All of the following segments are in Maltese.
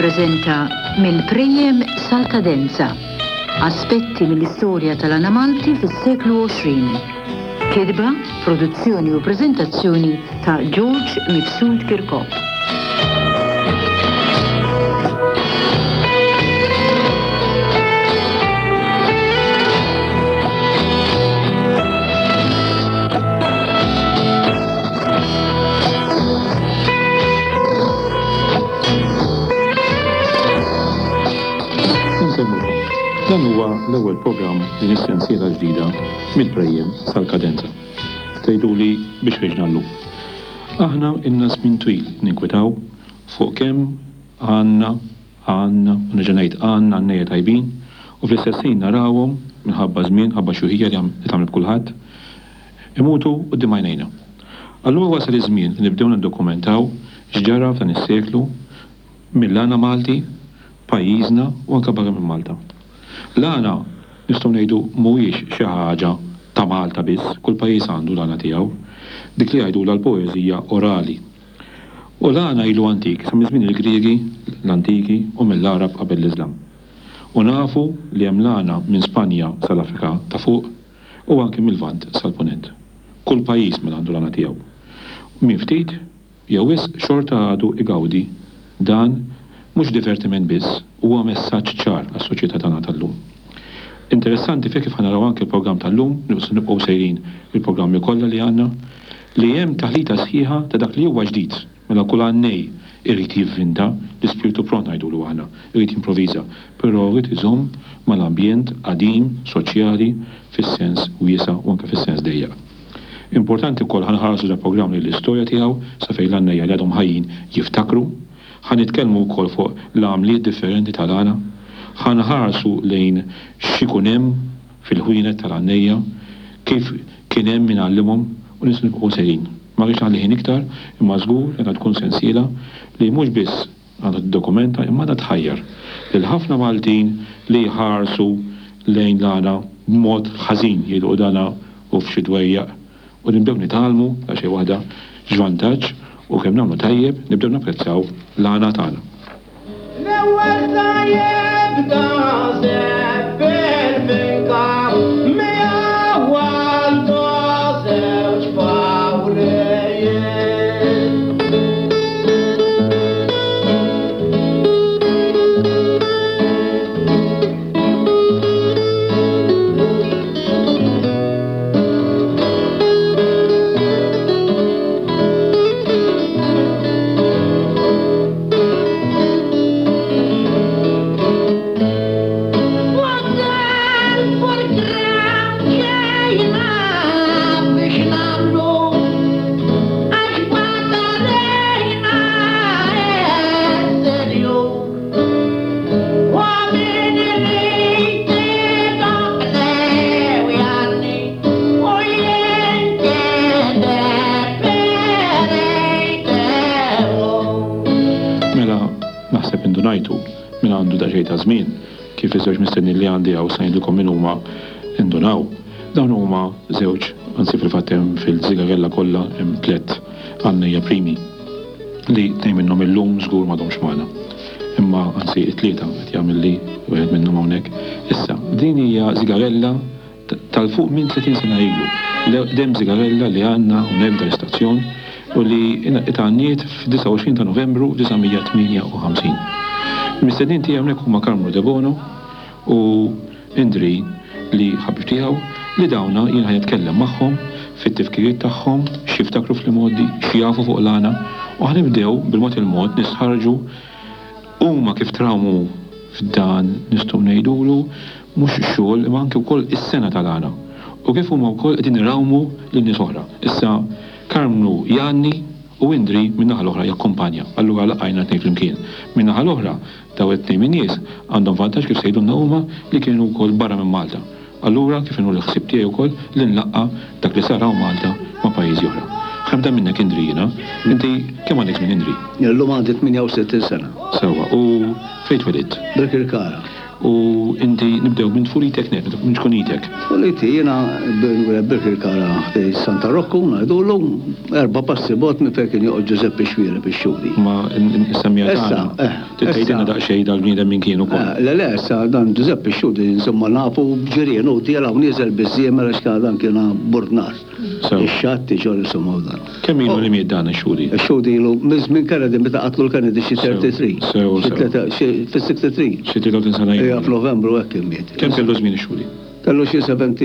tippreżenta Mill-Prejjem sal-Kadenza, Aspetti mill-istorja tal-għana Malti fis-seklu 20. Kitba, produzzjoni u preżentazzjoni ta' George Mifsud Kirkop. Insellmulkom. Dan huwa l-ewwel programm din is-sensiela ġdida mill-prejjem sal-kadenza. Tgħiduli biex ħriġna llum. Aħna ilna żmien twil ninkwetaw fuq kemm għandna għandna, u nerġa' ngħid għandna għannejja tajbin, u fl-istess ħin narawhom, minħabba ż-żmien, ħabba x-xjuħija li tagħmel b'kulħadd, imutu quddiem għajnejna. Allura wasal iż-żmien li nibdew niddokumentaw x'ġara f'dan is-seklu mill-għana Malti, pajjiżna u anke barra minn Malta. L-għana, nistgħu ngħidu, mhuwiex xi ħaġa ta' Malta biss, kull pajjiż għandu l-għana tiegħu, dik li jgħidulha l-poeżija orali. U l-għana ilu antik sa minn żmien il-Griegi l-antiki u mill-Għarab qabel l-Iżlam. U nafu li hemm l-għana minn Spanja sal-Afrika ta' Fuq u anki mil-Lvant sal-Punent. Kull pajjiż mela għandu l-għana tiegħu. Min ftit jew wisq xorta għadu igawdi dan mhux divertiment biss, huwa messaġġ ċar għas-soċjetà tagħna tal-lum. Interessanti fih kif ħa naraw anki l-programm tal-lum, se nibqgħu sejrin il-programmi kollha li għandna, li hemm taħlita sħiħa ta' dak li huwa ġdid, mela kull għannej irid jivvinta, l-ispirtu pront ngħidulu aħna, irid jimproviża, però jrid iżomm mal-ambjent qadim, soċjali, fis-sens wiesa' u anke fis-sens dejjaq. Importanti wkoll ħa nħarsu dal-programm lejn l-istorja tiegħu sa fejn l-għannejja li għadhom ħajjin jiftakru. Ħa nitkellmu wkoll fuq l-għamliet differenti tal-għana. Ħa nħarsu lejn x'ikun hemm fil-ħwienet tal-għannejja, kif kien hemm min għallimhom u nistgħu nibqgħu sejrin. Ma rridx naħli ħin iktar, imma żgur li għandha tkun sensiela li mhux biss għandha tiddokumenta imma għandha tħajjar lil ħafna Maltin li jħarsu lejn l-għana b'mod ħażin, jgħidu u dana hu f'xi dwejjaq u nibdew nitgħallmu daqsxejn waħda x'vantaġġ u kemm nagħmlu tajjeb nibdew napprezzaw l-għana tagħna. L-ewwel sa jibda żebbel finka miegħu għandu żewġ fawrijiet. Mela, naħseb indunajtu min għandu daqsxejn ta' żmien kif iż-żewġ mistednin li għandi hawn se ngħidilkom min huma indunaw. Dawn huma żewġ, anzi fil-fatt hemm fil-żigarella kollha hemm tlett għannejja primi. li tnejn minnhom illum żgur m'għadhomx magħna. Imma anzi it-tlieta qed jagħmilli wieħed minnhom hawnhekk. Issa, din hija żigarella tal-fuq minn 30 sena ilu. L-eqdem żigarella li għandna hawnhekk f'dan l-istazzjon u li itgħanniet f'29 ta' Novembru 1958. Il-mistednin tiegħi hawnhekk huma Karmnu Debono u Indri li ħabib tiegħu li dawna jien ħa nitkellem magħhom fit-tifkiriet tagħhom, x'jiftakru fl-imgħoddi, x'jafu fuq l-għana u ħa nibdew bil-mod il-mod nistħarrġu huma kif trawmu f'dan nistgħu ngħidulu mhux xogħol imma anke wkoll is-sengħa tal-għana u kif huma wkoll qegħdin irawmu lil nies oħra. Issa Karmnu jgħanni u Indri min-naħa l-oħra jakkumpanja. Allura laqajna t-tnejn flimkien. Min-naħa l-oħra Dawn it-tnejn min-nies għandhom vantaġġ kif se jgħidulna huma li kienu wkoll barra minn Malta. Allura kif inhu l-ħsieb tiegħi wkoll li nlaqqa' dak li sar hawn Malta ma' pajjiżi oħra. Ħa nibda minnek Indri jiena. Inti kemm għandek żmien Indri? Illum għandi 68 sena. Sewwa, u fejn twelidt? Birkirkara. U inti nibdew minn tfulitek nett, minn ċkunitek. Tfuliti jiena Birkirkara ħdej Santa Rokku ngħidulu, erba' passi bogħod minn fejn kien joqgħod Ġużeppi Xuereb ix-Xhudi. Ma nsemmija tagħna. Issa, eh. Tgħidilna daqsxejn dal-bniedem min kien ukoll. Le, le, issa dan Ġużeppi x-Xhudi insomma nafu b'ġirien hu tiela' u nieżel biż-żiemel għax dan kien burdnar. Ix-xatt iġorr insomma u dan. Kemm ilu li miet dan ix-Xhudi? Ix-Xhudi ilu minn żmien Kennedy meta qatlu l-Kennedy xi 33. Sew, sew. Xi fis-63. Xi 33 sena ilu. Ejja f'Novembru hekk kien miet. Kemm kellu żmien ix-Xhudi? Kellu xi 70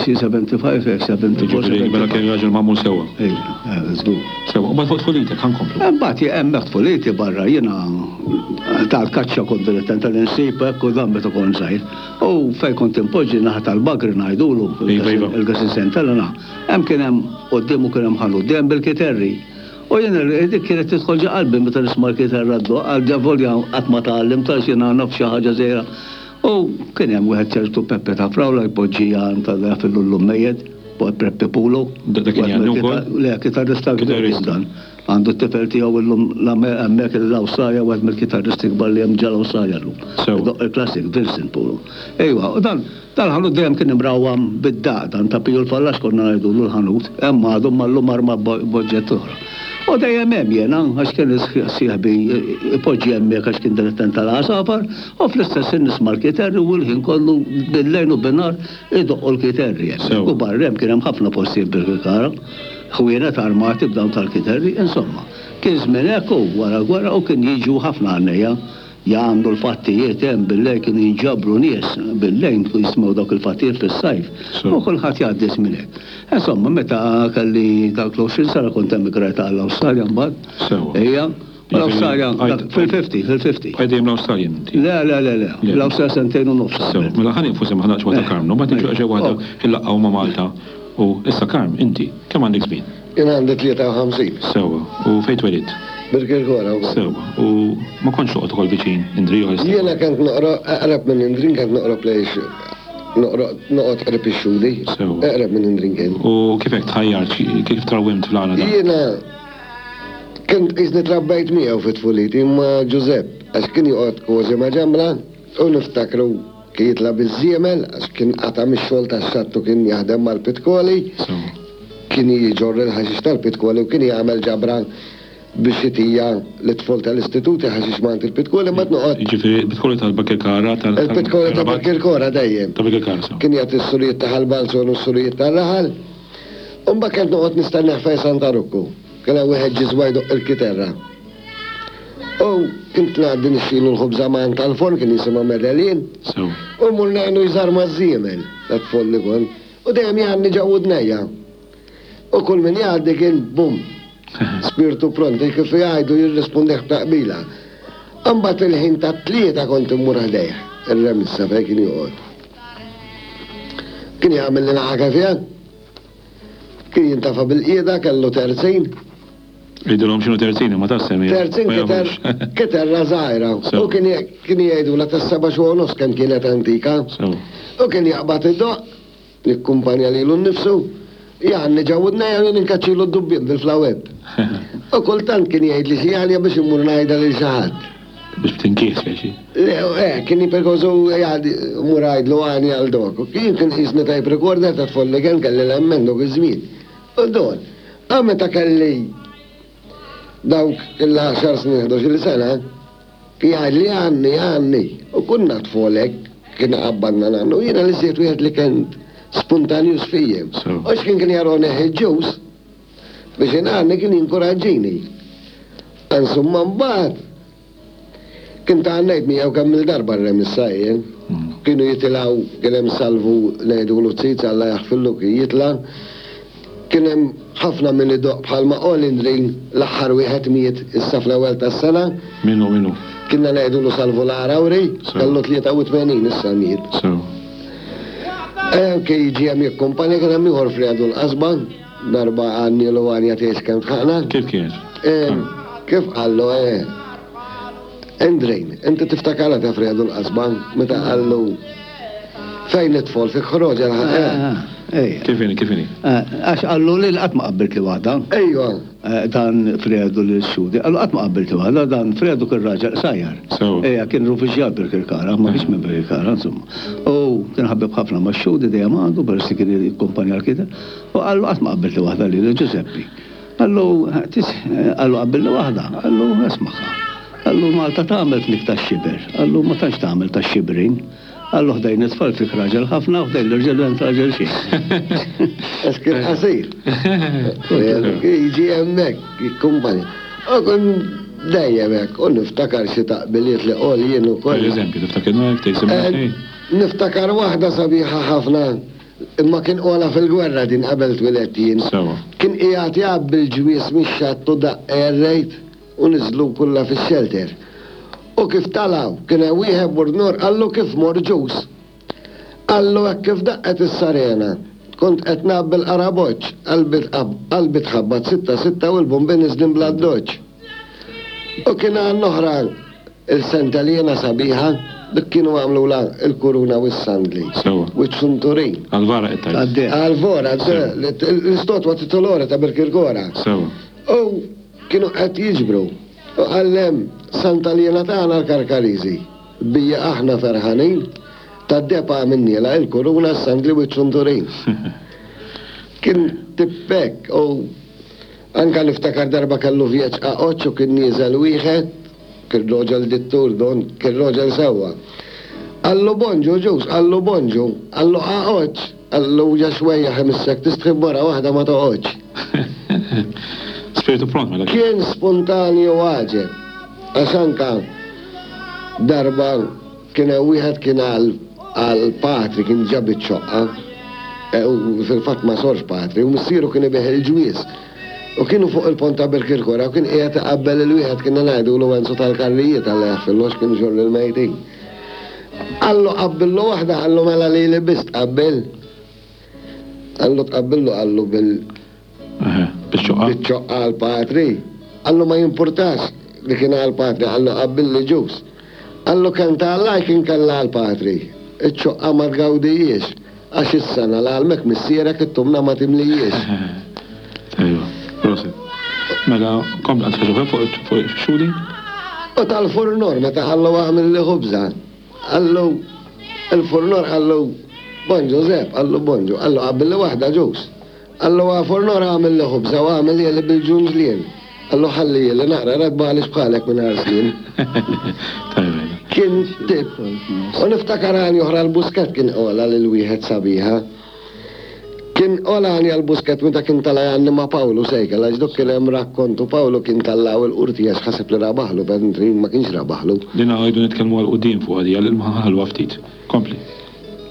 xi 75 hekk 74. Jiġifieri mela kien raġel magħmul sewwa. Ejja, żgur. Sewwa, u mbagħad fuq tfulitek ħa nkomplu. Imbagħad hemmhekk tfuliti barra jiena tal-kaċċa kont dilettant tal-insib hekk u dan meta kont żgħir. U fejn kont inpoġġi naħa tal-bagri ngħidulu, il-Gasin Saint Helena, hemm kien hemm quddiemu kien hemm ħanut dejjem bil-kiterri. U jien dik kienet tidħol ġo qalbi meta nisma' l-kiterra ddoqq, għal volja qatt ma tgħallimt għax jiena naf xi ħaġa żgħira. U kien hemm wieħed ċertu Peppe ta' Frawla jpoġġi għand ta' jaf illum mejjet, Peppe Pulo. Dak kien jgħanni wkoll? Le, kitarrista kbir kien dan. Għandu t-tifel tiegħu illum hemmhekk l-Awstralja wieħed mill-kitarristi kbar li hemm ġal-Awstralja llum. Idoqq il-classic, Vincent Pulu. Ejwa, u dan dal-ħanut dejjem kien imrawwam bid-daqq, dan ta' Piju l-Fallax konna ngħidulu l-ħanut, hemm għadu imma llum arma b'oġġett oħra. U dejjem hemm jiena, għax kien sieħbi ipoġġi hemmhekk għax kien dilettant tal-għasafar, u fl-istess ħin nisma' l-kiterri u l-ħin kollu bil-lejl u bin-nhar idoqqu l-kiterri hemmhekk. U barra hemm kien hemm ħafna postijiet bil-kikara. Ħwienet armati b'dawn tal-kiterri, insomma. Kien żmien hekk u wara l-gwerra u kien jiġu ħafna għannejja jagħmlu l-fattijiet hemm bil-lejl kienu jinġabru nies bil-lejl kienu jisimgħu dawk il-fattijiet fis-sajf u kulħadd jgħaddi żmien hekk. Insomma, meta kelli dawk l-20 sena kont emigrajt għall-Awstralja mbagħad. Sewwa. Ejja. U l-Awstralja fil-50, fil-50. Bqajt dejjem l-Awstralja inti? Le, le, le, le. L-Awstralja sentejn u nofs. Sew, mela ħa nieqfu semma ħa naqgħu ta' Karmnu, mbagħad niġu daqsxejn waħda nlaqqgħu ma' Malta u issa Karm, inti, kemm għandek żmien? Jien għandi 53. Sewwa, u fejn twelidt? Birkirkora wkoll. Sewwa, u ma kontx toqgħod ukoll viċin Indri jew għal Jiena kont noqrob eqreb minn Indri, kont noqrob lejn noqgħod qrib ix-Xhudi. Sewwa. Eqreb minn Indri kien. U kif hekk tħajjart, kif trawwimt fl-għana dan? Jiena Kont qisni trabbejt miegħu fi tfuliti ma' Ġużepp għax kien joqgħod kważi ma' ġembna u niftakru kien jitla' biż-żiemel għax kien qata' mix-xogħol tax-xatt u kien jaħdem mal-pitkoli. Kien jġorr il-ħaxix tal-pitkoli u kien jagħmel ġabra biex itija lit-tfol tal-istituti ħaxix m'għand il-pitkoli mbagħad noqgħod. Jiġifieri l-pitkoli tal-Bakirkara tal. Il-pitkoli ta' Bakirkora dejjem. Ta' Bakirkara sew. Kien jagħti s-surijiet ta' Ħal Balzon u s-surijiet tar-raħal. U mbagħad kont noqgħod nistennih fejn Santa Rukku. Kien hemm wieħed ġiżwa jdoqq il-kiterra. U kont ngħaddi nixtrilu l-ħobża m'għand tal-forn kien jisimha Medellin. U mmur ngħinu jżarma ż-żiemel, ta' tfol li kont. U dejjem jgħanni ġo widnejja. U kull min jgħaddi kien bum! Spirtu pront, kif jgħidu jirrispundih b'taqbila. Imbagħad il-ħin tat-tlieta kont immur ħdejh, ir-remissa fejn kien joqgħod. Kien jagħmel li naqa' kefja. Kien jintafa' bil-qiegħda, kellu terzin. Għidilhom x'inhu terzin imma ta' semmi. Terzin kiterra żgħira. U kien jgħidulha tas-seba' xhur u nofs kemm kienet antika. U kien jaqbad idoqq, jikkumpanja lilu nnifsu, jgħanni ġo widnejja u jien inkaċċilu d-dubbien bil-flawebb. U kultant kien jgħidli xi għanja biex immur ngħidha lil xi ħadd. Biex b'tinkieh speċi. Le, eh, kien jiperkosu jgħad mur għajdlu għani għal dok. Jien kien qisni tape recorder ta' tfol li kien kelli l-emmen dok iż-żmien. U don, a meta kelli dawk il-10 snin, 11 sena, jgħidli għanni, għanni. U kunna tfolek, kien qabbadna nannu, jiena li żied wieħed li kien spontanjus fijjem. U x'kien kien jaroni ħeġġuż, Biex ingħanni kien jinkuraġġini. Insomma mbagħad kien tgħannejt miegħu kemm il-darba r-remissa jien. Kienu jitilgħu kien hemm Salvu ngħidulu Ziz Alla jaħfirlu kien jitla'. Kien hemm ħafna min idoqq bħalma Olindrin l-aħħar wieħed miet issa fl-ewwel tas-sena. Min hu min hu? Kienna ngħidulu Salvu l-Għarawri, kellu 83 issa miet. Sew. Kien jiġi hemm jikkumpanja kien hemm ieħor Fredu l-Qasba. Darba għannielu għanja tgħix kemm tħaqna. Kif kienet? Kif qallu, eh. Endrejn, inti tiftakarha ta' Fredu l-qasba, meta qallu. Fejn it-tfol fi ħroġa l-ħa. Kif inhi, kif inhi? Għax qallu li qatt ma qabbilt li waħda. Ejwa. Dan Fredu lil Xhudi. Qallu qatt ma qabbilt li waħda, dan Fredu kien raġel qsajjar. Sewwa. Ejja, kien rufiġjat Birkirkara, ma kienx minn Birkirkara, insomma. U kien ħabib ħafna ma' Xhudi dejjem għandu, peress li kien jikkumpanja l-kiteb. U qallu qatt ma qabbilt li waħda lili Ġużeppi. Qallu, qallu qabbilli waħda, qallu ismagħha. Qallu Malta tagħmel fnik tax-xiber, qallu ma tantx tagħmel tax-xibrin. Qallu ħdejn it-tfal fik raġel ħafna u ħdejn l-irġiel m'int raġel xejn. Għax kien qasir. Jiġi hemmhekk, jikkumpanja. U kien dejjem hekk, u niftakar xi taqbiliet li qol jien ukoll. Per eżempju, tiftakirna hekk tgħid semma xejn? Niftakar waħda sabiħa ħafna, imma kien qolha fil-gwerra din qabel twilidt jien. Sewwa. Kien qiegħed jgħabbi l-ġwież mix-xatt u daqq air raid. U niżlu kollha fix-xelter. U kif talgħu, kien hemm wieħed burnur qallu kif mor ġuż. Qallu hekk kif daqqet is-sarena, kont qed ngħabbi l-qaraboċċ, qalbi qalbi tħabbat sitta sitta u l-bombi niżlin bl-addoċċ. U kien għan oħra il-senteliena sabiħa, dik kienu għamlulha l-kuruna u s-sandli. Sewwa. U ċ-ċunturin. Għall-vara qed tgħid. Għall-vora, l-istotwa titolore ta' Birkirkora. Sewwa. U Kienu qed jiġbru. U qallem, Santa Liena tagħna l-Karkariżi. Bija aħna ferħanin, tad-deheb għamilnielha il-kuruna, s-sandli u ċ-ċunturin. Kien tip hekk u anka niftakar darba kellu vjeġġ qaqoċċ u kien nieżel wieħed, kien roġel dittur don, kien roġel sewwa. Qallu bonġu ġus, qallu bonġu, qallu qaqoċċ. Qallu ja xwejjaħ imissek tistħi b'mara waħda ma toqgħodx. Spiritu pront mela. Kien spontanju għaġeb. Għax anka darba kien hemm wieħed kien għal għal patri kien ġab iċ-ċoqqa e, u fil-fatt ma sorx patri u missieru kien ibigħ il-ġwież. U kienu fuq il-pont ta' Birkirkora u kien qiegħed iqabbel il-wieħed kienna ngħidulu Enzo tal-Karrijiet Alla jaħfirlu għax kien iġorr il-mejtin. Qallu qabbillu waħda, qallu mela lili biss tqabbil. Qallu tqabbillu qallu bil Biċ-ċoqqa. Biċ-ċoqqa għal patri. Qallu ma jimpurtax li kien għal patri, qallu qabbilli ġus. Qallu kemm ta' Alla kien kellha għal patri. Iċ-ċoqqa ma tgawdijiex. Għax is-sena l-għalmek missierek it-tumna ma timlijiex. Tajba, prosit. Mela, kompli għandek xi ħaġa oħra fuq ix-xhudi? U tal-furnor meta qallu agħmilli ħubża. Qallu, il-furnor qallu, Bonġu Żepp, qallu bonġu, qallu qabbilli waħda ġus. Qallu għa furnor agħmilli ħubża u agħmilhieli bil-ġunġlien. Qallu ħallihieli naqra ratba għaliex bħalek mingħajr snien. Tajba. Kien tip. U niftakar għanja oħra l-Busquet kien qolha lil wieħed sabiħa. Kien qolha għanja l-Busquet meta kien tala' jgħanni ma' Pawlu Sejkel għax dok kien hemm rakkont u Pawlu kien tallgħu il-Qorti għax ħaseb li rabaħlu mentri ma kienx rabaħlu. Din għidu nitkellmu għal quddiem fuqha di għal imma ħalwa ftit. Kompli.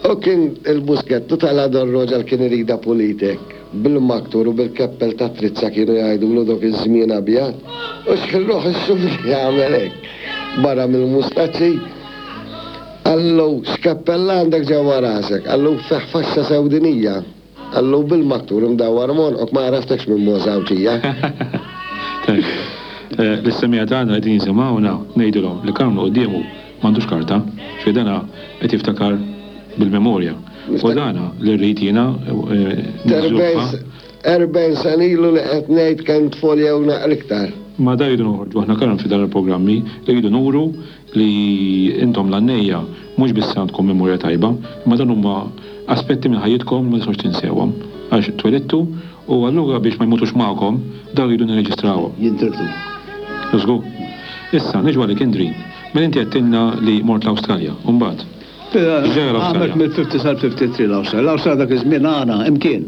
U kien il-Busquet u tala' dan roġel kien iridha pulit hekk, bil-maktur u bil-keppel tat-trizza kienu jgħidulu dok iż-żmien abjad. U x'ħin ruħ ix-xufri jagħmel hekk barra mill-mustaċċi. Qallu, X'keppell għandek ġewwa rasek? Qallu, Fih faxxa sewdinija. Qallu, Bil-maktur imdawwar m'għonqok ma għaraftekx minn mogħża Għawdxija. Tajjeb. Lis-semmiegħa tagħna li qegħdin jisimgħuna ngħidilhom li Karmnu quddiemu m'għandux karta, ġifieri dana qed jiftakar bil-memorja. U dana li rrid jiena niżviluppa. 40 sena ilu li qed ngħid kemm tfol jew naqra iktar. Ma da rridu noħorġu aħna Karm fi dan il-programmi, irridu nuru li intom l-għannejja mhux biss għandkom memorja tajba, imma dawn huma aspetti minn ħajjitkom li ma tistgħux tinsewhom għax twelidtu u allura biex ma jmutux magħkom dawn irridu nirreġistrawhom. Jintirtu. Żgur. Issa, niġu għalik Indri. Mela inti għedtilna li mort l-Awstralja, u mbagħad? X'ġara l-Awstralja? Għamilt mill-50 sal-53 l-Awstralja. L-Awstralja dak iż-żmien għana imkien.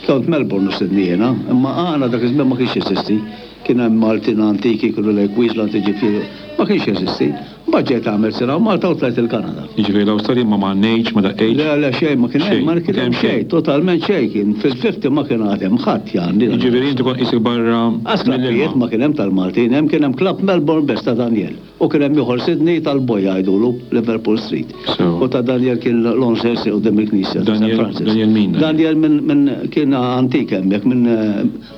Kont Melbourne u Sydney jiena, imma għana dak iż-żmien ma kienx jeżisti. Kien hemm Maltin antiki kienu lejn Queensland jiġifieri ma kienx jeżisti. Mbagħad ġejt għamilt sena hawn Malta u tlajt il-Kanada. Jiġifieri l-Awstralja ma m'għannejtx, ma daqqejtx? Le, le, xejn ma kien hemm, ma kien hemm xejn, totalment xejn kien. Fil-fifty ma kien għad hemm ħadd jgħanni. Jiġifieri inti kont qisek barra mill-ilma. Qas klabbijiet ma kien hemm tal-Maltin, hemm kien hemm klabb Melbourne biss ta' Daniel. U kien hemm ieħor Sydney tal-Boy jgħidulu, Liverpool Street. Sewa. U ta' Daniel kien l-Onser Street quddiem il-knisja ta' San Francis. Daniel min? Daniel minn minn kien antik hemmhekk minn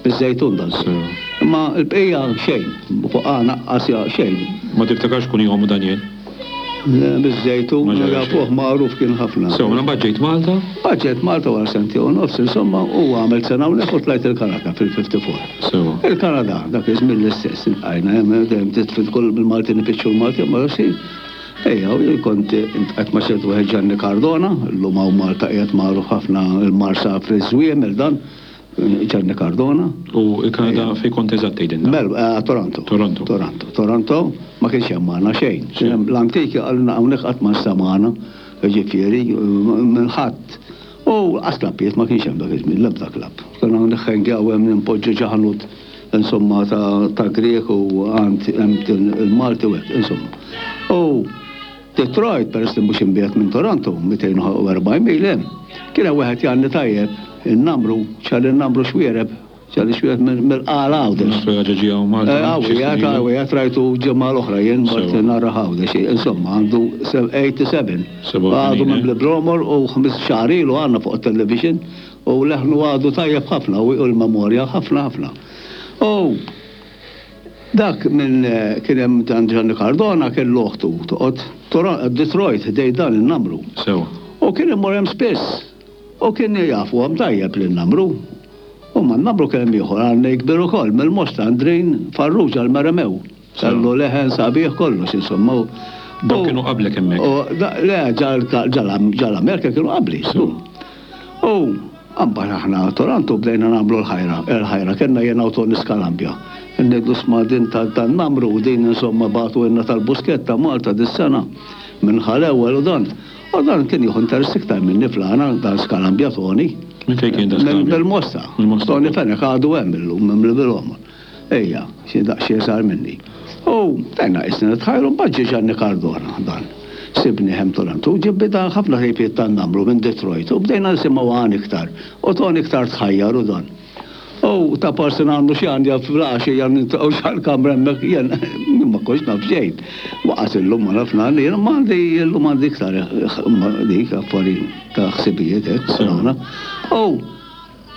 miż-Żejtun dan. Sewa. Imma l-bqija xejn, fuq għana qas xejn. Ma tiftakarx kunjomu Daniel? Biż-Żejtun, jafuh magħruf kien ħafna. Sew, mela mbagħad ġejt Malta? Mbagħad ġejt Malta wara sentejn u nofs, insomma, u għamilt sena hawnhekk u tlajt il-Kanada fil-54. Sewa. Il-Kanada, dak iż-żmien l-istess, iltqajna hemm, dejjem titfil kull bil-Maltin ifittxu l-Maltin, ma nafx xi. Ejja, u jien kont iltqajt ma' ċertu wieħed Gianni Cardona, illum hawn Malta qiegħed magħruf ħafna il-Marsa fiż-Żwiemel dan. Gianni Cardona. U l-Kanada fejn kont eżatt tgħidilna? Mel, Toronto. Toronto. Toronto. Toronto ma kienx hemm magħna xejn. Kien hemm l-antiki qalilna hawnhekk qatt ma nstemgħana, jiġifieri minn ħadd. U lanqas klabbijiet ma kienx hemm dak iż-żmien, l-ebda klabb. Konna niħħengjaw hemm nimpoġġu ġo ħanut insomma ta' Grieg u għand hemm il-Malti u hekk, insomma. U Detroit, peress li mhux imbiegħed minn Toronto, 240 mil hemm, kien hemm wieħed jgħanni tajjeb, in-Namru, Charlie Namru Xuereb, Charlie Xuereb mill-Qala Għawdex. Naf li raġa' ġie hawn Malta. Hawn qiegħed, hawn qiegħed, rajtu ġimgħa l-oħra jien, mort narah Għawdex. Insomma, għandu 87. Għadu mimli bl-għomor u ħmis xahar ilu għandna fuq it-television u leħnu għadu tajjeb ħafna u l-memorja ħafna ħafna. U Dak minn kien hemm dan Gianni Cardona kellu oħtu toqgħod Detroit ħdejn dan in-namru. Sewa. U kien imur hemm spiss. U kien jafuhom tajjeb lin-namru. U man-namru kien hemm ieħor għarnej kbir ukoll mill-Mosta Andrin Farrugia l-Meremew. Kellu leħen sabiħ kollox insomma. Dawk kienu qablek hemmhekk? Le, ġal-Amerika kienu qabli. Sewa. U Mbagħad aħna Toronto bdejna nagħmlu l-ħajra, il-ħajra kellna jiena u Tony Scarambia. Ngħidlu sma' din tan-namru, din insomma bagħtuhielna tal-Busketta Malta dis-sena minn Ħal Ewwel u dan. U dan kien jieħu interess iktar minni fl-għana, dan Scarambia Tony. Minn fejn kien dan Scarambia? Mill-Mosta. Mill-Mosta. Tony Fenech għadu hemm illum, mimli bil-għomor. Ejja, xi daqsxejn iżgħar minni. U bdejna qisna nitħajru, mbagħad ġie Gianni Cardona dan. Sibni hemm Toronto u ġie bida ħafna ħrejpiet tan-namru minn Detroit u bdejna nisimgħu għan iktar u Tony iktar tħajjar u dan. U ta' parsi nagħmlu xi għanja fl-għaxija niltaqgħu x'għall-kamra hemmhekk jien jien ma kontx naf xejn. Waqas illum ma naf ngħanni, jien imma għandi illum għandi iktar dik affarijiet ta' ħsibijiet hekk. U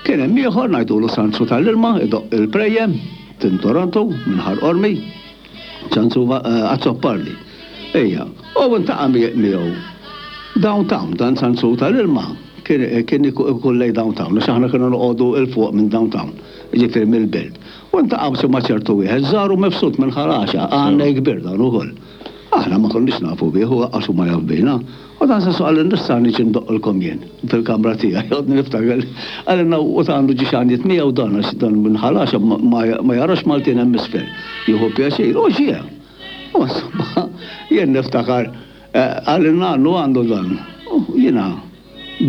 Kien hemm ieħor ngħidulu Sanzu tal-ilma idoqq il-prejjem, tin Toronto, minn Ħal Qormi, Sanzu Azzopardi. Ejja, u ntaqa' miegħu downtown, dan Sanzu tal-ilma kien kien ikun lejn downtown, għax aħna konna noqogħdu 'l fuq minn downtown, jiġifieri mill-belt. U ntaqa' ma' ċertu wieħed żgħar u mifsud minn Ħal Għaxaq, għannej kbir dan ukoll. Aħna ma konniex nafu bih u lanqas hu ma jaf bina. U dan Sansu qalli nista' niġi ndoqqilkom jien fil-kamra tiegħi. Għodni niftakar li qalilna u ta' għandu ġiex għanjiet miegħu dan għax dan minn Ħal Għaxaq ma jarax Maltin hemm isfel. Jieħu pjaċir. U ġie. U insomma jien niftakar qalilna għandu għandu dan. U jiena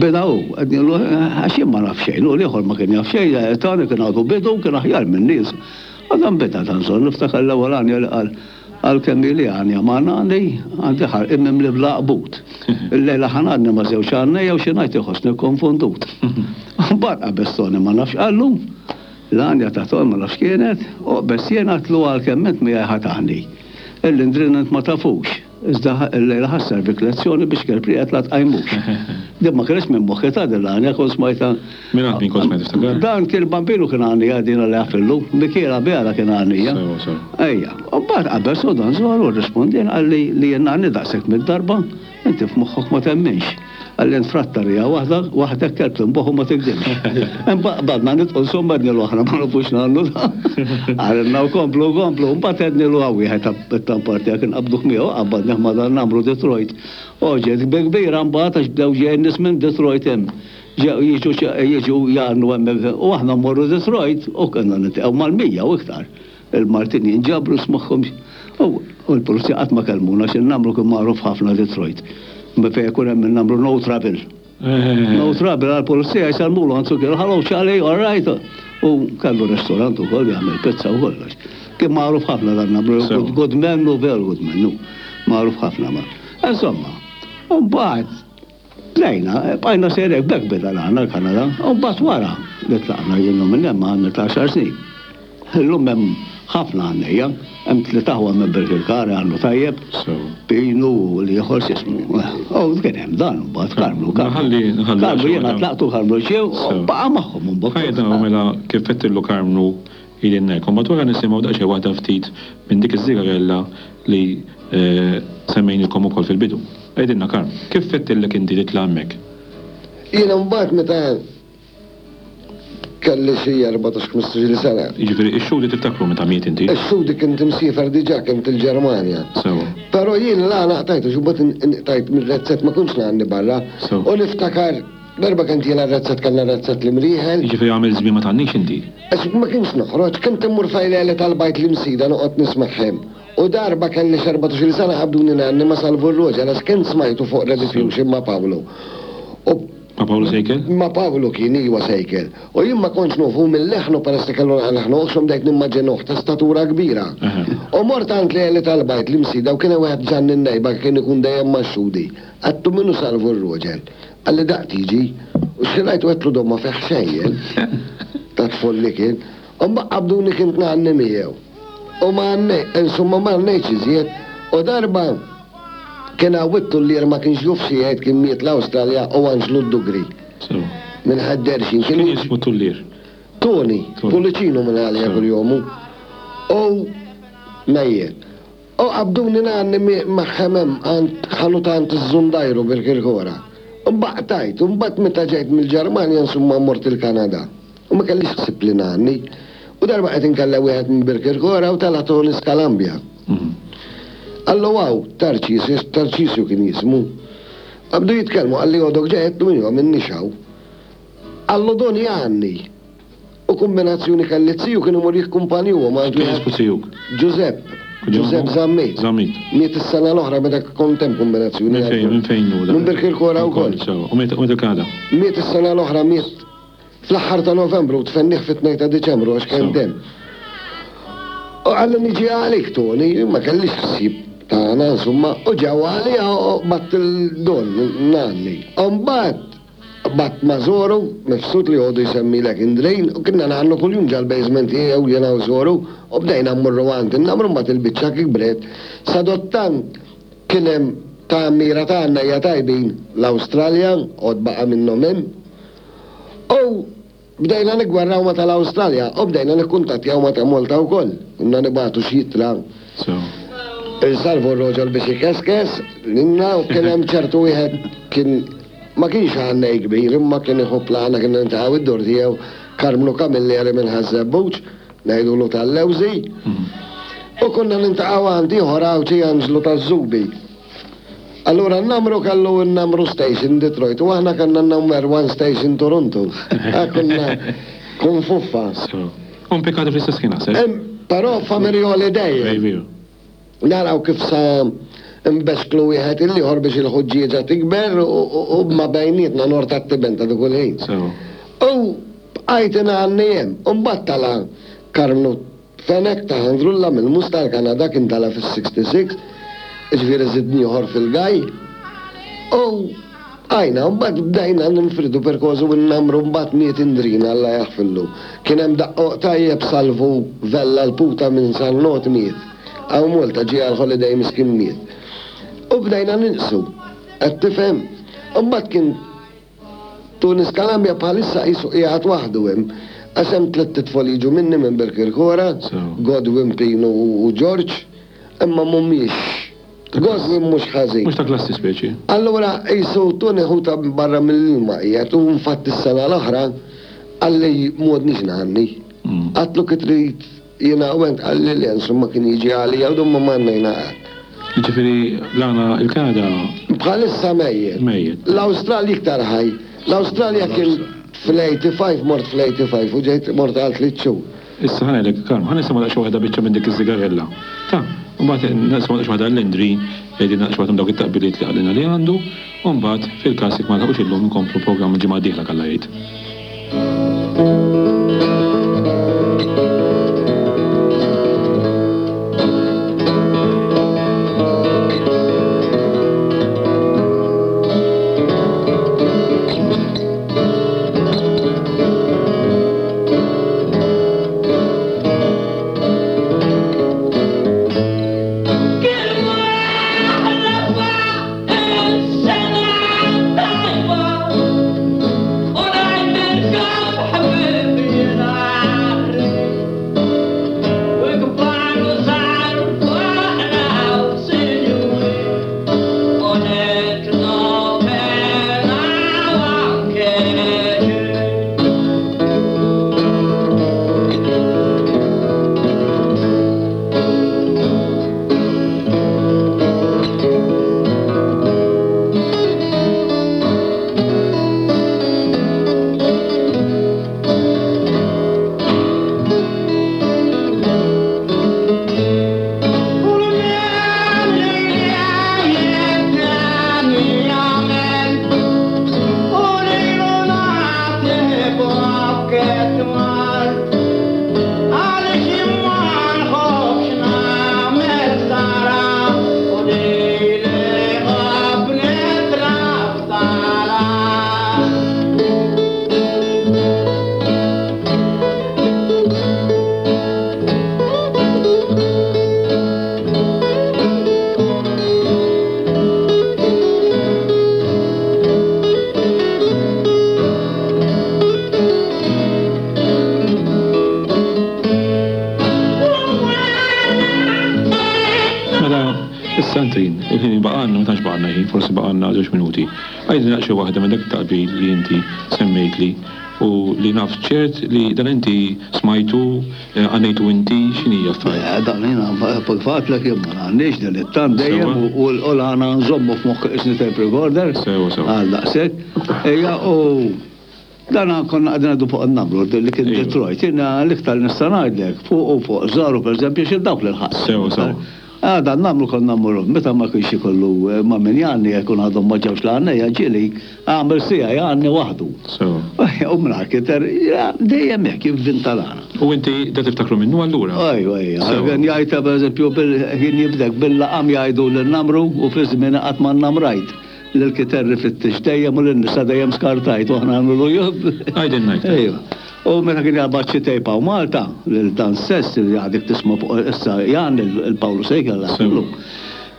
Beda hu, għednilu, għax jien ma naf xejn, u l-ieħor ma kien jaf xejn, Tony kien għadu bidu, kien aħjar minni. U dan beda dan żon, niftakar l-ewwel għanja li qal, qal kemm ili għanja ma ngħanni, għandi ħarqi mimli bl-għaqbut. Illejla ħa ngħanni ma' żewġ għannejja u xi ngħid iħossni kkonfondut. Mbagħad qabeż Tony ma nafx qallu, l-għanja ta' Tony ma nafx kienet, u qbeż jien għedtlu għalkemm int miegħi ħa tgħanni. Il-Lindrin int ma tafux. Iżda llejla ħa sservik lezzjoni biex kelb rieqed la tqajmux. Din ma kinitx minn moħħi ta' din l-għanja kont smajtha. Mingħand min kont smajtha tiftakar? Dan kien Bambinu kien għannija din għalli għafillu, Mikiela Bela kien għannija. Sewa sewa. Ejja. U mbagħad qabeż u dan żoru rrispondien qalli li jien ngħanni daqshekk mid-darba, inti f'moħħok ma temminx. Qalli int frattarija waħda, waħdek kelb tinboħ u ma tigdimx. Imbagħad qbadna nidqu insomma għednilu aħna ma nafux ngħannu da. Qalilna u komplu komplu, mbagħad għednilu hawn wieħed tat-tampar tiegħek inqabbduh miegħu, qabbadnih ma' dan nagħmlu Detroit. U ġiet bi kbira mbagħad għax bdew ġejjin nies minn Detroit hemm. Ġew jiġu jiġu jgħannu hemmhekk u aħna mmorru Detroit u konna niltaqgħu mal-100 u iktar. Il-Maltin jinġabru smagħhom u l-pulizija qatt ma kellmuna għax in-namru kien magħruf ħafna Detroit. Fejn ikun hemm in-namru no trouble. No trouble għall-pulizija jsellmulu anzu kienu hello Charlie, all right. U kellu restorant ukoll jagħmel pizza u kollox. Kien magħruf ħafna dan namru, good man u veru good man. Magħruf ħafna ma. Insomma, u mbagħad Tlajna, bqajna sejrin hekk, b'hekk beda l-għana l-Kanada. U mbagħad wara li tlaqna jien u minn hemm għamilt għaxar snin. Illum hemm ħafna għannejja, hemm tliet aħwa minn Birkirkara jgħannu tajjeb, Pinu u l-ieħor x'ismu. U kien hemm dan mbagħad Karmnu. Karmnu jiena tlaqtu Karmnu ġie u baqa' magħhom imbagħad. Ħajja mela kif għedtillu Karmnu ili hemmhekk. U mbagħad wara nisimgħu daqsxejn waħda ftit minn dik iż-żigarella li Semmejnielkom ukoll fil-bidu. Għidilna Karm, kif fettillek inti titla' hemmhekk? Jiena mbagħad meta kelli xi 14, 15-il sena. Jiġifieri x-Xhudi tiftakru meta miet inti? Ix-Xhudi kint imsiefer diġà, kint il-Ġermanja. Sewwa. Però jien l-għana qtajtu xi mbagħad inqtajt mir-rezzett ma kontx ngħanni barra. Sewwa. U niftakar darba kont jiena r-rezzett kellna rezzett l-Imrieħel. Jiġifieri għamilt żmien ma tgħannix inti? Għax ma kienx noħroġ, kont immur fejn l-għeli tal-bajt l-Imsida noqgħod nismagħhom. U darba kelli x'erbatax-il sena qabduni ngħanni ma' Salvu r-Roġel għax kien smajtu fuq Rediffusion ma' Pawlu. U. Ma' Pawlu Sejkel? Ma' Pawlu kien, iwa Sejkel. U jien ma kontx nofu minn leħnu peress li kellu leħnu oħxon bdejt nimmaġinuh ta' statura kbira. U mort għand l-għeli tal-bajt l-Imsida u kien hemm wieħed Ġanni n-Nejba kien ikun dejjem max-Xhudi. Għedtlu min hu Salvu r-Roġel? Qalli daqt jiġi. U x'ħin rajtu għedtlu dom ma fih xejn jien. Ta' tful li kien. U mbagħad qabduni kint ngħanni miegħu. U ma insomma ma għannejtx iżjed. U darba kien hawn it-tullier ma kienx juf xi jgħid kien miet l-Awstralja u Anġlu d-Dugri. Minn Ħad-Derxin. Kien jismu tullier? Toni, Puliċinu minn għalija kuljomu. U mejjet. U qabduni ngħanni magħhom hemm għand ħanut għand iż-Żundajru Birkirkora. U mbagħad qtajt, u mbagħad meta ġejt mill-Ġermanja insomma mort il-Kanada. U ma kellix ħsieb li ngħanni. U darba qed inkellem wieħed minn Birkirkora u tela' Tony Scalambia. Qallu hawn, Tarċisju, Tarċisju kien jismu. Qabdu jitkellmu qalli għodok ġej għedtlu iva m'innix hawn. Qallu Don jgħanni. U kumbinazzjoni kelli ziju kien imur jikkumpanjuhom għand Kien jismu zijuk? Ġużepp. Ġużepp Zammit. Zammit. Miet is-sena l-oħra meta kont hemm kumbinazzjoni. Minn fejn, minn fejn hu dan? Minn Birkirkora wkoll. Sewwa. U miet il-Kanada? Miet is-sena l-oħra, miet fl-aħħar ta' Novembru u tfennih fit-tnejn ta' Diċembru għax kien demm. U qalli niġi għalik Tony, jien ma kellix ħsieb tagħna insomma, u ġew għalija u qbadt il-don ngħanni. U mbagħad Qbadt ma' Zoru, mifsud li għodu jsemmilek Indrejn, u kinna ngħannu kuljum ġal-basement tiegħu jiena u Zoru, u bdejna mmorru għand in-namru mbagħad il-biċċa kibret. Sadottant kien hemm tgħammira ta' għannejja tajbin l-Awstralja, għod baqa' minnhom hemm. U Bdejna niggwerraw ma' tal-Awstralja u bdejna nikkuntattjaw ma' ta' Malta wkoll. Konna nibagħtu xi ittra lil Salvu r-Roġol biex ikeskes lilna u kien hemm ċertu wieħed kien ma kienx għannej kbir imma kien iħobb l-għana kien niltaqgħu id-dur tiegħu Karmnu Camilleri minn Ħaż-Żebbuġ, ngħidulu tal-Lewżi. U konna niltaqgħu għand ieħor Għawdxi Anġlu taż-Żubi. Allura n-Namru kellu n-Namru Station Detroit u aħna kellna n-Number One Station Toronto. Konna konfuffa. U mpikati fl-istess ħin naħseb. Però family holiday. Naraw kif sa nbexklu wieħed il-ieħor biex il-ħuġġieġa tikber u ma bejnietna nor tat-tiben ta' dik il-ħin. U bqajt ingħanni hemm. U mbagħad tala' Karmnu Fenech ta' Ħandrulla mill-Mus tal-Kanada kien tala' fis-66, jiġifieri żidni ieħor fil-gaj, u bqajna, u mbagħad bdejna ninfirdu perkożu u nnamru mbagħad miet Indrina Alla jaħfirlu. Kien hemm daqqoq tajjeb Salvu Vella l-Puta minn San Not miet. Hawn Malta ġie għall-holiday miskin miet. U bdejna ninqsu. Qed tifhem? U mbagħad kien Tunis Calabria bħalissa qisu qiegħed waħdu hemm, għax hemm tlett itfol jiġu minni minn Birkirkora, Godwin, Pinu u George, imma mhumiex, Godwin mhux ħażin. Mhux ta' klassi speċi. Allura qisu Tony ħuta barra mill-ilma qiegħed u infatti s-sena l-oħra qalli m'għodniex ngħanni. Għadtlu kif trid Jiena u ent qalli le, insomma kien jiġi għalija u dumma ma għannejna qatt. Jiġifieri l-għana il-Kanada. Bħalissa mejjet. Mejjet. L-Awstralja iktar ħaj. L-Awstralja kien fl-85 mort fl-85 u ġejt mort għal tliet xhur. Issa ħa ngħidlek, Karm, ħa nisimgħu daqsxejn waħda biċċa minn dik iż-żigarella. Ta', u mbagħad nisimgħu daqsxejn waħda għall-Indri, jgħidilna daqsxejn waħda minn dawk it-taqbiliet li qalilna li għandu, u mbagħad fil-każ jekk ma nilħqux illum inkomplu l-programm il-ġimgħa d-dieħla k'Alla jgħid. Issa Antrin, il-ħin li baqgħalna, ma tantx baqgħalna ħin, forsi baqgħalna żewġ minuti. Għidli daqsxejn waħda minn dak it-taqbil li inti semmejtli u li naf ċert li dan inti smajtu, għannejtu inti, x'inhi affarijiet? Eh, dan jiena fil-fatt lek jien ma ngħannix dilettant dejjem u l-għana nżommu f'moħħi qisni tape recorder. Sewa sewa. Għal daqshekk. Ejja u dan konna qegħdin ngħidu fuq in-namru li kien Detroit. Jiena l-iktar nista' ngħidlek fuq u fuq żaru pereżempju xi dawk li lħaqt. Sewa sewa. Għada n-namru konna mmorru meta ma kienx ikollu ma' min jgħanni jekk ikun għadhom ma ġewx l-għannejja ġieli għamel siegħa jgħanni waħdu. Sewa. U mingħajr kiter dejjem hekk jivvinta l-għana. U inti da tiftakru minnu allura? Ejwa, ejwa. Kien jgħid pereżempju kien jibdek bil-laqam jgħidu lin-namru u fi żmieni qatt ma nnamrajt. Lil kiterri fittixt dejjem u lin-nisa dejjem skartajt u aħna nagħmlu jubb. Għidilna iktar. Ejwa. U meta kien jaqbad xi tape hawn Malta, lil dan stess li għadek tisma' fuq issa jgħanni lil Pawlu Sejkel l-ħaflu.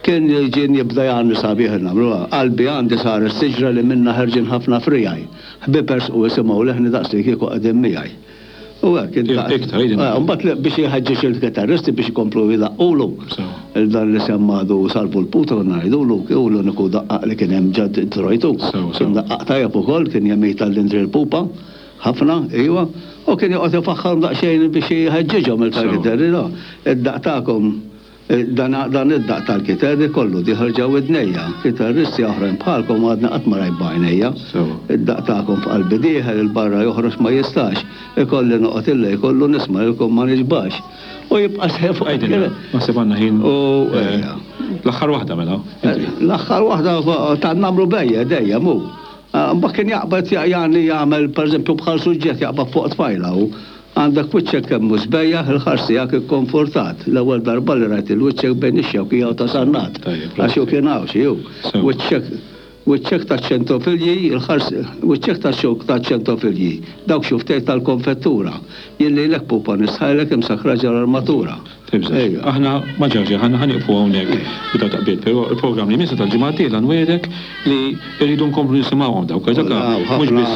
Kien ġien jibda jgħanni sabiħ nagħmlu. Qalbi għandi saret siġra li minnha ħerġin ħafna friegħi. Ħbieb ersqu isimgħu leħni daqslikieku qegħdin miegħi. U hekk intaqt. Iktar, jidin. Mbagħad biex jħeġġeġ il-kitarristi biex ikomplu jdaqqulu. Il dan li semma għadu Salvu l-Putra konna ngħidulu, hu l-uniku daqqaq li kien hemm ġa Detroit hu. Kien daqqaq tajjeb ukoll, kien jemita l-Indri l-Pupa ħafna, iva. U kien joqgħod ifaħħarhom daqsxejn biex jħeġġiġhom il-kitarri. Id-daqq tagħkom Dan dan id-daqq tal-kiterri kollu dieħel ġo widnejja. Kitarristi oħrajn bħalkom għadni qatt ma rajt b'għajnejja. Id-daqq tagħkom f'qalbi dieħel, 'il barra joħroġ ma jistax. Ikolli noqgħod il-lejl kollu nisma' lilkom ma nixbax. U jibqa' sejjer fuq Għidilna, naħseb għandna ħin. U L-aħħar waħda mela. L-aħħar waħda tan-namru bejja dejjem hu. Mbagħad kien jaqbad jagħni jagħmel pereżempju bħal suġġett jaqbad fuq tfajla hu. Għandek wiċċek kemm hu sbejjaħ, il-ħars tiegħek ikkonfortat. L-ewwel darba li rajt il-wiċċek bejn ix-xewkija u ta' Sannat. Għax hu kien Għawdxi, hu. Wiċċek, wiċċek taċ-ċentofilji, il-ħars, wiċċek tax-xewk taċ-ċentofilji, dawk xufftejk tal-konfettura. Jien lilek pupa nistħajlek imsakkra ġol-armatura. Tibżax. Aħna ma ġarx, aħna ħa nieqfu hawnhekk b'dawn taqbiet, però il-programm li jmiss tal-ġimgħa d-dieħla nwiegħdek li rridu nkomplu nisimgħuhom dawk għax dak mhux biss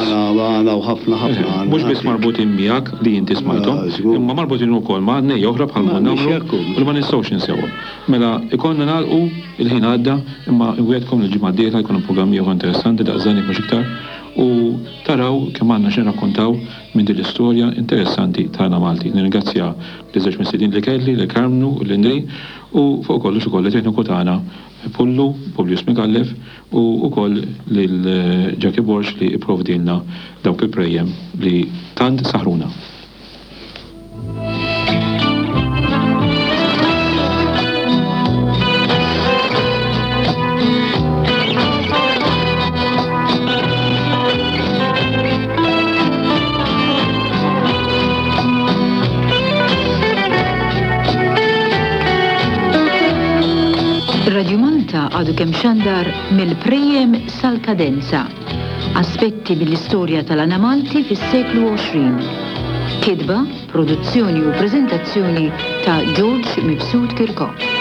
mhux biss marbutin miegħek li inti smajthom, imma marbutin ukoll ma' għannejja oħra bħal ma nagħmlu u li ma nistgħux ninsewhom. Mela ikollna nagħlqu, il-ħin għadda, imma nwiegħdkom li l-ġimgħa d-dieħla jkun hemm programm ieħor interessanti daqs dan jekk mhux iktar u taraw kemm għandna x'nirrakkontaw minn din l-istorja interessanti tagħna Malti. Nirringrazzja liż-żewġ mistednin li kelli, lil Karmnu u lil Indri, u fuq kollox ukoll lit-tekniku tagħna Pullu, Publius Micallef, u wkoll lil Jackie Borg li pprovdielna dawk il-prejjem li tant saħruna. Radio Malta għadu kemm xandar mill-Prejem sal-Kadenza. Aspetti mill-istorja tal-Għana Malti fis-seklu 20. Kitba, produzzjoni u preżentazzjoni ta' George Mifsud Kirkop.